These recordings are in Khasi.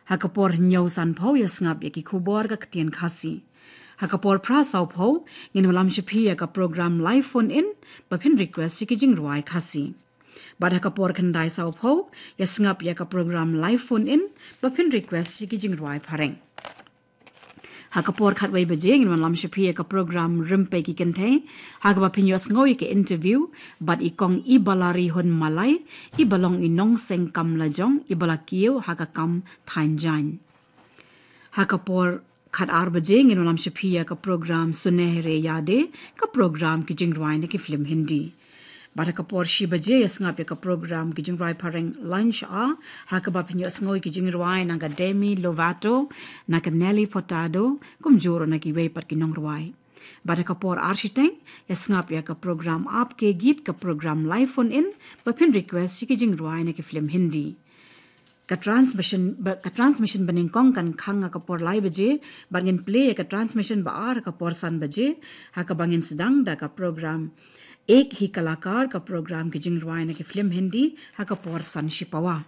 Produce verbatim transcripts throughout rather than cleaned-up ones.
Ha ka por hynñiew sanphew ïa sngap ïa ki khubor ka ktien Khasi. Ha ka por phra sawphew ngin wallam sha phi ïa ka program live phone in ba phin request ïa ki jingrwai Khasi. Bad ha ka por khyndai sawphew ïa sngap ïa ka program live phone in ba phin request ïa ki jingrwai Phareng. Ha ka por khatwei baje ngin wallam sha phi ïa ka program Rympei ki Kynthei, ha kaba phin ïohsngew ïa ka interview bad i Kong Ibalarihun Malai, iba long i nongseng kam lajong, iba la kiew ha ka kam thaiñ jaiñ. Ha ka por khatar baje ngin wallam sha phi ïa ka program Sunehri Yaadein, ka program ki jingrwai na ki film Hindi. Bad ha ka por shi baje ïa sngap ïa ka program ki jingrwai Phareng Lunch Hour, ha kaba phin ïohsngew ïa ki jingrwai na ka Demi Lovato, na ka Nelly Furtado, kumjuh ruh na kiwei pat ki nongrwai. Bad ha ka por ar shiteng ïa sngap ïa ka program Aapke Geet, ka program live phone in ba phin request ïa ki jingrwai na ki film Hindi. Ka transmission ba, ka transmission banyngkong kan khang ha ka por lai baje, bad ngin plie ïa ka transmission ba ar ha ka por san baje, ha kaba ngin sdang da ka program Ek Hi Kalakar, ka program ki jingrwai na ki film Hindi, ha ka por san shipawa.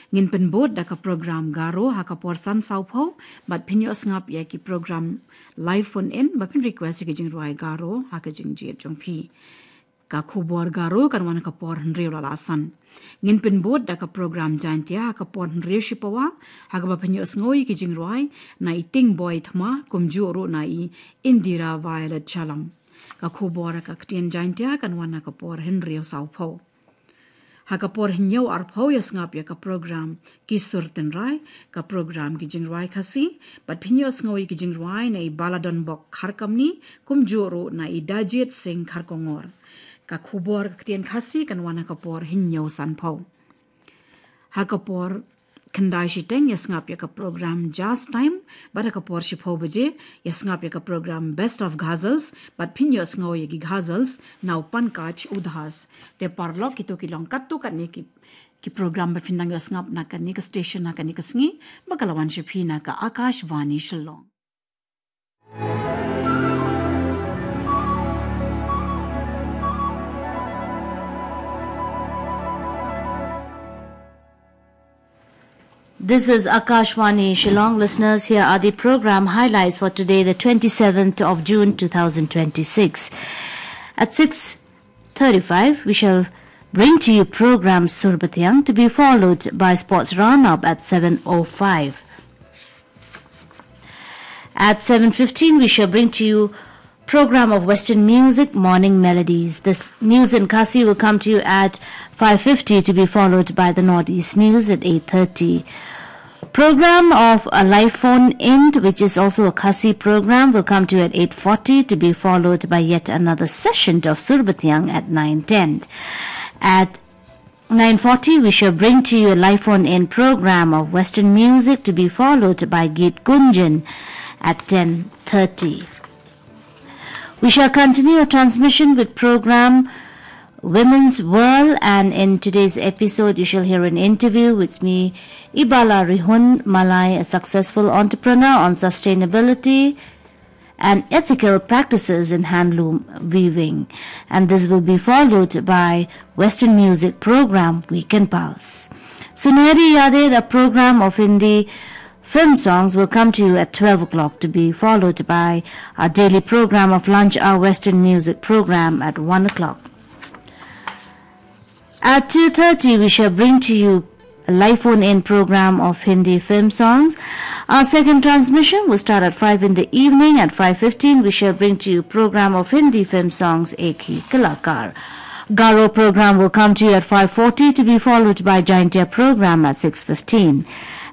Ngin pynbud da ka program Garo ha ka por san sawphew, bad phin ïohsngap ïa ki program live phone in ba phin request ïa ki jingrwai Garo ha ka jingjied jong phi. Ka khubor Garo kan wan ha ka por hynriew la la san. Ngin pynbud da ka program Jaintia ha ka por hynriew shipawa, ha kaba phin ïohsngew ïa ki jingrwai na i Tingboi Thma, kumjuh ruh na i Indira Violet Chalam. Ka khubor ha ka ktien Jaintia kan wan ha ka por hynriew sawphew. Ha ka por hynñiew arphew ïa sngap ïa ka program Ki Sur Tynrai, ka program ki jingrwai Khasi, bad phin ïohsngew ïa ki jingrwai na i Baladonbok Kharkamni, kumjuh ruh na i Dajit Singh Kharkongor. Ka khubor ka ktien Khasi kan wan ha ka por hynñiew sanphew. Ha ka por khyndai shiteng ïa sngap ïa ka program Jazz Time, bad ha ka por shiphew baje ïa sngap ïa ka program Best of Ghazals, bad phin ïohsngew ïa ki ghazals na u Pankaj Udhas. Te paralok, kito ki long katto katne ki, ki program ba phin nang ïohsngap na kane ka station ha kane ka sngi, ba ka la wan sha phi na ka Akashvani Shillong. This is Akashvani Shillong. Listeners, here are the program highlights for today, the twenty-seventh of June, two thousand twenty-six. At six thirty-five, we shall bring to you program Sur Bathiang, to be followed by sports roundup at seven oh five. At seven fifteen, we shall bring to you program of Western music, Morning Melodies. This news in Khasi will come to you at five fifty, to be followed by the Northeast News at eight thirty. Program of a live phone in, which is also a Khasi program, will come to you at eight forty, to be followed by yet another session of Sur Bathiang at nine ten. At nine forty, we shall bring to you a live phone-in program of Western music, to be followed by Geet Gunjan at ten thirty. We shall continue our transmission with program Women's World, and in today's episode, you shall hear an interview with me, Ibalarihun Malai, a successful entrepreneur, on sustainability and ethical practices in handloom weaving. And this will be followed by Western music program Weekend Pulse. Sunehri Yaadein, a program of Hindi film songs, will come to you at twelve o'clock, to be followed by our daily program of Lunch Hour Western music program at one o'clock. At two thirty, we shall bring to you a live phone-in program of Hindi film songs. Our second transmission will start at five in the evening. At five fifteen, we shall bring to you program of Hindi film songs, Ek Hi Kalakar. Garo program will come to you at five forty, to be followed by Jaintia program at six fifteen.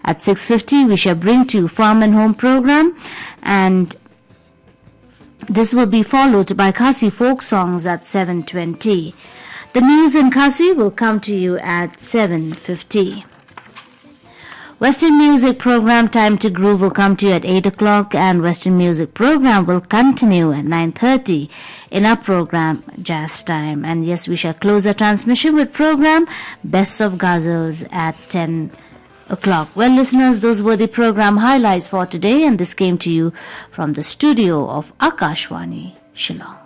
At six fifty, we shall bring to you Farm and Home program, and this will be followed by Khasi folk songs at seven twenty. The news in Khasi will come to you at seven fifty. Western music program Time to Groove will come to you at eight o'clock, and Western music program will continue at nine thirty in our program Jazz Time. And yes, we shall close our transmission with program Best of Ghazals at ten o'clock. Well, listeners, those were the program highlights for today, and this came to you from the studio of Akashvani, Shillong.